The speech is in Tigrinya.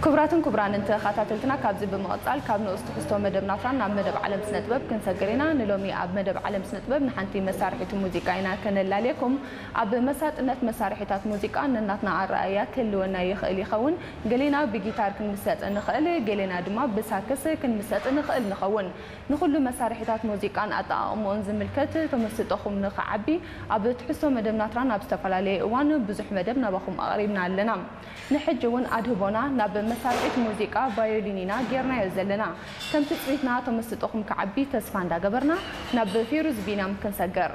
ክቡራትን ክቡራንን ተኸታተልትና፣ ካብዚ ብምቕጻል ካብ ንኡስ ትሕዝቶ መደብ ናትራን ናብ መደብ ዓለም ስነ ጥበብ ክንሰግር ኢና። ንሎሚ ኣብ መደብ ዓለም ስነ ጥበብ ንሓንቲ መሳርሒት ሙዚቃ ኢና ከነላልየኩም። ኣብ መሳጥነት መሳርሒታት ሙዚቃ ነናትና ኣረኣእያ ክህልወና ይኽእል ይኸውን። ገሌና ብጊታር ክንምሰጥ ንኽእል፣ ገሌና ድማ ብሳክስ ክንምሰጥ ንኽእል ንኸውን። ንኹሉ መሳርሒታት ሙዚቃን ኣጠቓቕምኦን ዝምልከት ተመስጦኹም ንኽዓቢ ኣብ ትሕዝቶ መደብ ናትራን ኣብ ዝተፈላለየ እዋን ብዙሕ መደብ ናባኹም ኣቕሪብና ኣለና። ንሕጂ እውን ኣድህቦና ናብ መሳርሒት ሙዚቃ ቫዮሊን ኢና ጌርናዮ ዘለና። ከም ትጽቢትና ተመስጦኹም ክዓቢ ተስፋ እንዳገበርና ናብ ፌሩዝ ቢንያም ክንሰግር።